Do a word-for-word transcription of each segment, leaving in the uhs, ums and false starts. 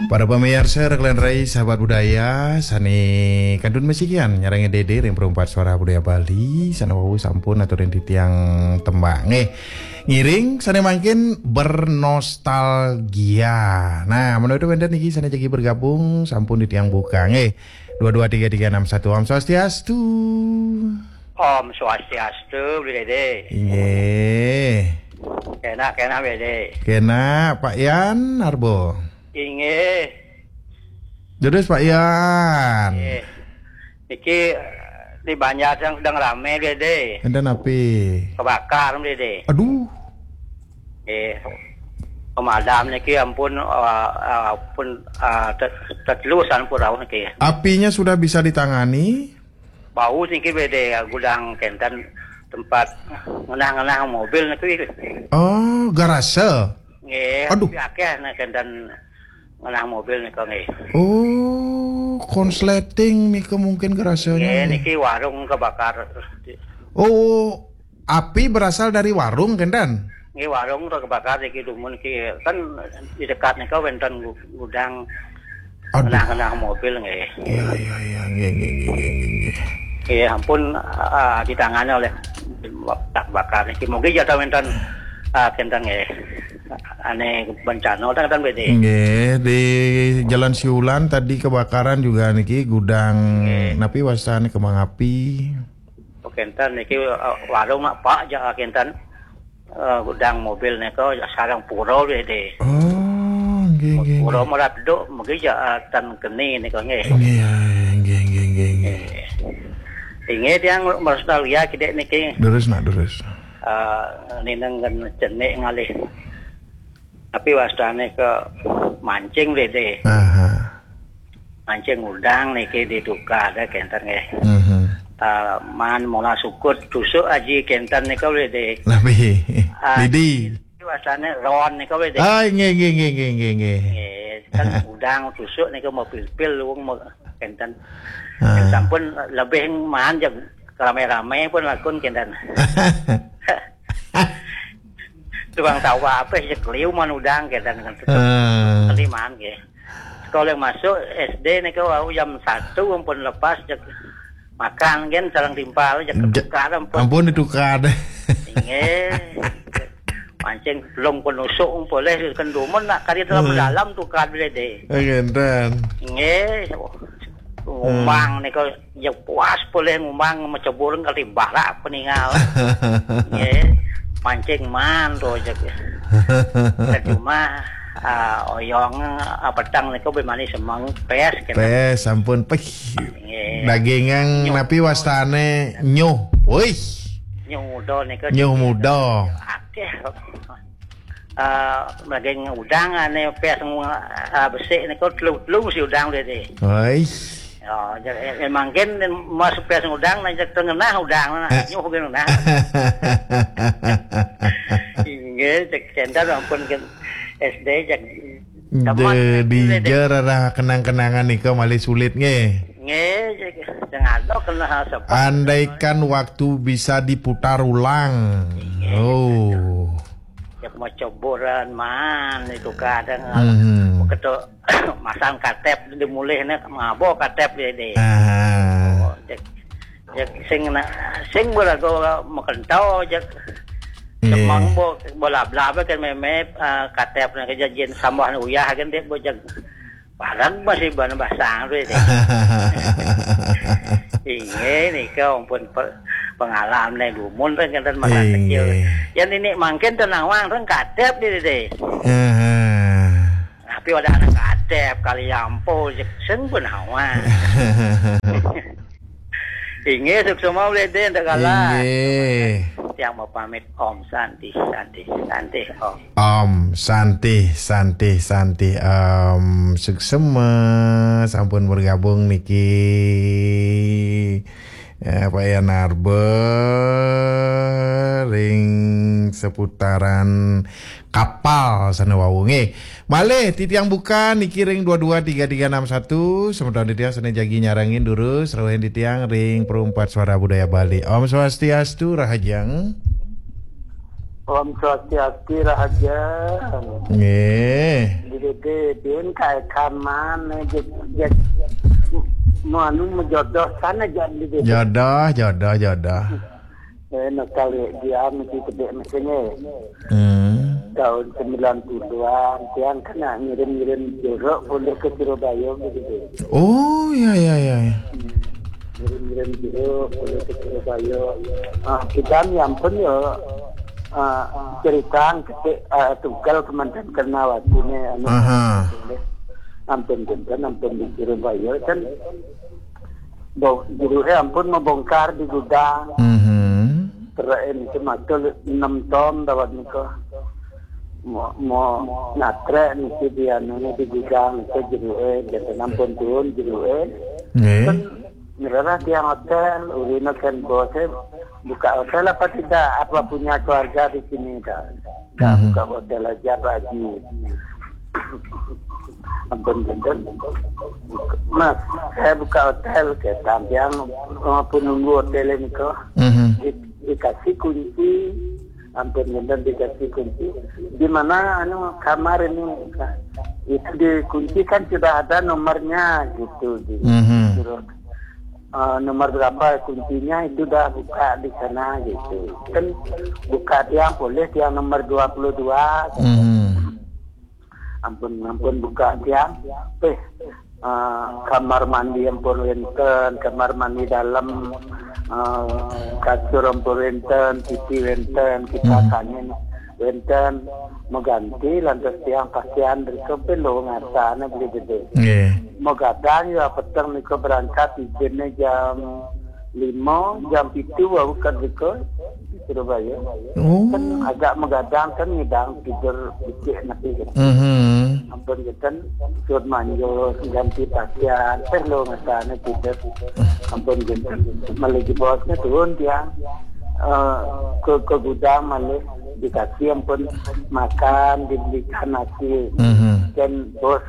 Para pamiarsa, rekan rai, sahabat budaya, sane kantun masikian nyarengin Dede ring Perumpat Suara Budaya Bali, sane wau sampun aturin titiang tembang. Nggih. Ngiring sane mangkin bernostalgia. Nah, menawi wenten niki sane jagi bergabung, sampun titiang buka. Nggih. Dua dua tiga tiga enam satu. Om Swastiastu. Om Swastiastu, Bli Dede. Inggih. Kenak, kenak, Bli Dede. Kenak, Pak Yan Arbo. Inggih. Jodis, Pak Yan. Inggih. Niki, eh, di Banjar sedang, sedang rame, Bli Dede. Enten api? Kebakar, Bli Dede. Aduh. Eh, pemadam niki ampun, eh, eh, ampun, eh, tet-, tetelu sampun rauh niki. Apinya sudah bisa ditangani? Bau niki, Bli Dede, gudang kenten tempat ngenah-ngenah mobil niki. Oh, garase? Nggih, aduh. Tapi akeh nek kenten ngenah mobil nika nggih. Oh, konsleting nika mungkin garasenya. Nggih, niki warung kebakar. Oh, api berasal dari warung, kenten? Nggih, warung kebakar niki dumun niki. Kan di dekat nika wenten gu-, gudang. Aduh. Ngenah-ngenah mobil nggih. Iya, iya, iya, nggih, nggih, nggih, nggih, nggih. Nggih, ampun, ah, ditangani oleh tak bakar niki. Mungkin ya wenten, ah, kenten nggih. Ane bencana, wenten, wenten, Bli Dede. Nggih, di Jalan Siulan tadi kebakaran juga niki gudang. Nggih. Napi wastane, kembang api? Oh, kenten niki, eh, warung mak Pak ja, kenten. Eh, gudang mobil nika sareng pura, Bli Dede. Oh, nggih, nggih, pura nggih. Merak duk, megi ja, eh, ten keni nika nggih. Nggih, ya, nggih, nggih, nggih, nggih. Nggih. Inggih, tiang nostalgia kidik niki. Durus, nak, durus. Eh, ninengen cenik ngalih. Tapi wastane ke mancing, Bli Dede. Aha. Mancing udang niki di Tukad kenten nggih. Mhm. Ah, maan molas sukut tusuk aji kenten nika, Bli Dede. Napi? Ah, lidi. Wastane ron nika, Bli Dede. Ah, nggih, nggih, nggih, nggih, nggih, nggih. Nggih, kan udang tusuk nika mau pil-pil wong mau kenten. Ah. Sampun lebih maan jeg rame-rame pun lakun kenten. Tukang tawa apa sih, keliu maan udang kenten kan. Ah. Keliu maan nggih. Sekolah masuk S D nika wau jam satu ampun lepas jeg makan kan sareng timpal jeg. Ja-, ketukar ampun. Ampun ditukar. Inggih. Mancing belum penusuk polih kendumun nak kali dalam. Hmm. Dalam tukar, Bli Dede. Eh, kenten. Inggih. Hmm. Ngumang nika ya puas polih ngumang, macebur kali barak peningal. Nggih. Mancing maan to jeg. Cuma, ah, oyong, ah, peteng nika beli manis semeng pes kenten. Pes, sampun peh. Nggih. Dagingan. Nyuh. Napi wastane nyuh. Wih. Nyuh muda nika. Nyuh muda. Akeh. Ah, daging udang ane pes ngu-, ah, besik nika telu-telu si udang, Bli Dede. Wih. Ya, jadi, eh, mangkin mas pes udang, nah, jeg tengenah udang, nah, eh, nyuh genah. Inggih, jeg kenten ampun ke S D, jeg. Jaman de-, Bli Dede. Dija rarah kenang-kenangan nika malih sulit nggih. Nggih, jeg, jeg ada kena sepat. Andaikan waktu bisa diputar ulang. Nggih. Oh. Jeg maceburan maan itu kadang. Mhm. Begitu masang katep dimulihne, mabok katep, Bli Dede. Aha. Oh, jeg, jeg sing na-, sing berago makentau jeg. Nggih. Semang bo, bo lablab kan meme, ah, katep na kejadian sambah uyah kan dek bo jeg. Parang masih bana basang tu, Dede. Inggih, nika ampun pe-, pengalaman dumun kan kenten masa kecil. Inggih. Yang ini mangkin tenawang kan katep, Dede. Aha. Tapi ada anak katep, kali ampo, sing pun awak. Inggih, suksma, Bli Dede, enten kala. Inggih. Tiang mau pamit, Om Santi, Santi, Santi, Om. Om Santi, Santi, Santi, Om, suksma, sampun bergabung niki. Eh, Pak Yan Arba ring seputaran kapal sane wau nggih. Malih titiang buka niki ring dua dua tiga tiga enam satu, semeton titiang sane jagi nyarengin durus, rauhin titiang ring Perumpat Suara Budaya Bali. Om Swastiastu, rahajeng. Om Swastiastu, Rahaja. Nggih. Dede din kae kaman, eh, jeg, jeg, mau anu, mau jodoh sana, jadi dede. Jodoh, jodoh, jodoh. Eh, nostalgia mesti gede mestinya. Hmm. Tahun sembilan puluhan, tiang kena ngirim-ngirim jeruk boleh ke Surabaya gitu. Oh, ya, ya, ya, ya. Ngirim-ngirim jeruk boleh ke Surabaya. Ah, kita ni ampun ya. Ah, cerita kita, ah, tunggal kemanten kena waktu ni, anu, aha, ampun, ampun, ampun di Surabaya kan. Bo-, jeruk, eh, ampun, mau bongkar di gudang. Mhm. Terus ini tu matul enam ton dawat niko. Mau, mau natrek niki di anu ni di gudang niko jeruk, eh, jadi ampun turun jeruk, eh. Nggih. Kan ngerasa tiang hotel, urina kan bos, eh, buka hotel apa tidak? Apa punya keluarga di sini dah? Dah, mhm, buka hotel aja, Pak Haji. Ampun, ampun. Mas, saya buka hotel, kata tiang, eh, penunggu hotel ini kok. Mhm. Di-, dikasih kunci, ampun, ampun, dikasih kunci. Di mana, anu, kamar ini? Itu di kunci kan sudah ada nomornya, gitu, gitu. Mhm. Suruh, eh, nomor berapa kuncinya itu dah buka di sana, gitu. Kan buka tiang boleh, tiang nomor dua puluh dua. Mhm. Ampun, ampun, buka tiang. Eh, eh, kamar mandi ampun wenten, kamar mandi dalam, eh, kasur ampun wenten, T V wenten, kipas angin wenten. Mau ganti lantas tiang pakaian, riko pe lo ngasana beli gede. Nggih. Mau gadang ya peteng niko berangkat, izinnya jam lima, jam pitu wau kan riko di Surabaya. Oh. Kan agak mau gadang kan ngidang tidur becik nanti kan. Mhm. Ampun, kita suruh manjur, ganti pakaian, teh lo ngasana tidur. Ampun, kita malah di bosnya turun tiang, eh, ke, ke gudang malah dikasih ampun makan, dibelikan nasi. Mhm. Dan bos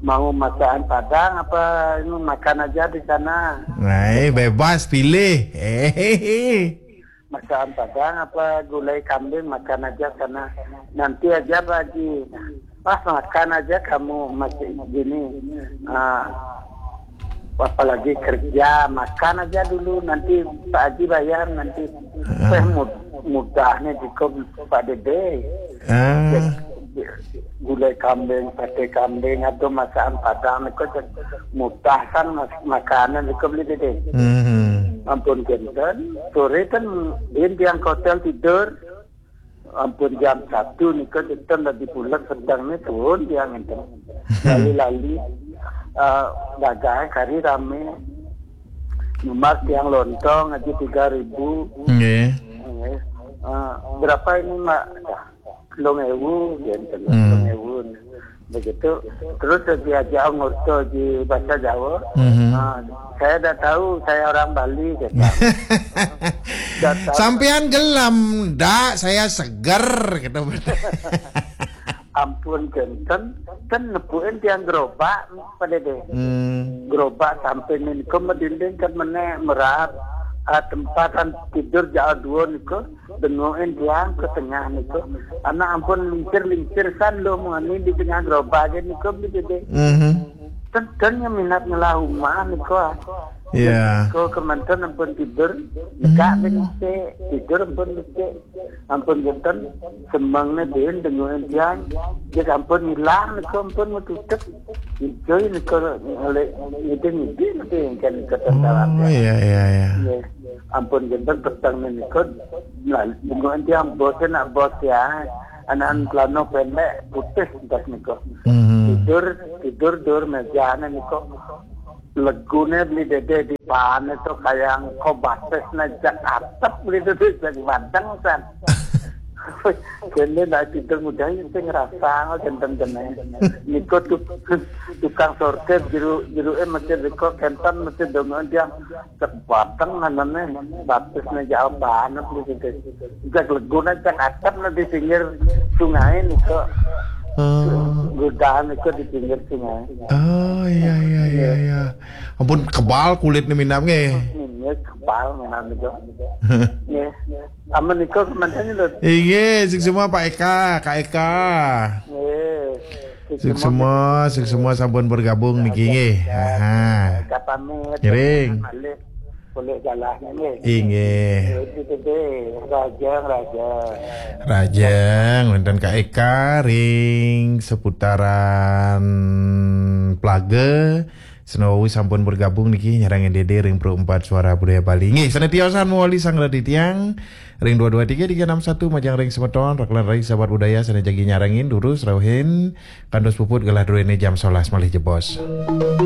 mau masakan Padang apa ini makan aja di sana. Nah, eh, bebas pilih. Hehehe. Masakan Padang apa gulai kambing, makan aja sana. Nanti aja, Pak Haji. Pas makan aja kamu masih gini. Ah, apalagi kerja, makan aja dulu. Nanti Pak Haji bayar, nanti. Ah. Teh mud-, mudahnya cukup, Pak Dede. Ah. Gulai kambing, sate kambing, atau masakan Padang, itu mudahkan mas-, makanan itu beli Dede. Mhm. Ampun, kenten, sore kan dia tiang hotel tidur. Ampun, jam satu nika kita lagi pulang, sedang ni turun dia ngenten. Lali-lali, eh, dagang kari rame. Nomor tiang lontong aja tiga ribu. Nggih. Nggih. Eh, berapa ini, Mak? Dah, telung ewu, ngenten, hmm, telung ewu. Begitu. Terus diajak ngurto di bahasa Jawa. Mhm. Ah, "Saya dah tahu, saya orang Bali," kata. "Dah tahu." "Sampean gelem, dak, saya seger," gitu. Ampun, kenten, kan nepuin tiang gerobak, Pak Dede. Hmm. Gerobak sampai niku medinding kan meneh merap, ah, tempat kan tidur jauh dua niku. Dengokin tiang ke tengah niku. Anak ampun lincir-lincir san lo mani di tengah gerobak aja niku, beli gede. Mhm. Tentang yang minat ngelah rumah niku, ah. Iya. Niku kemanten ampun tidur, nekak, hmm, beli gede. Tidur ampun beli gede. Ampun genten, semangnya din dengokin tiang. Dia ampun hilang niku, ampun metutup. Itu niku oleh ngidin-ngidin niku yang kan kata. Oh, iya, iya, iya. Iya. Ampun genten peteng niku. Nah, dengan dia bosnya nak bos ya. Anak celana pendek putih entas niku. Mhm. Tidur, tidur dur meja niku. Legune beli dede di pan itu kayak engko batis nejak atep beli dede jak badeng san. Kene nak tidur mudah itu ngerasa genten kene. Niku tu-, tukang sortir jeru-, jeruke mesti niku kenten mesti dongeng dia. Cek bateng anane batisne jauh banget gitu. Cek legune cek atep di pinggir sungai niku. Hmm. Gudahan niku di pinggir sungai. Oh, iya, iya, iya, iya. Ampun kebal kulitnya minam nggih. Nggih, kepal menawi nika. Nggih. Amun nika kemanten lho. Inggih, suksma Pak Eka, Kak Eka. Nggih. Suksma, suksma sampun bergabung niki nggih. Aha. Eka pamit. Ngiring. Malih boleh galah nggih. Inggih. Itu gede, rajang, rajang. Rajang, wonten Kak Eka ring seputaran Plaga. Senawi sampun bergabung niki nyarengin Dede ring Pro empat Suara Budaya Bali. Nggih, sane tiosan mawali sang radi tiang ring dua dua tiga tiga enam satu majeng ring semeton, rekan ring sahabat budaya sane jagi nyarengin durus rauhin kantos puput galah druene jam sebelas malih jebos.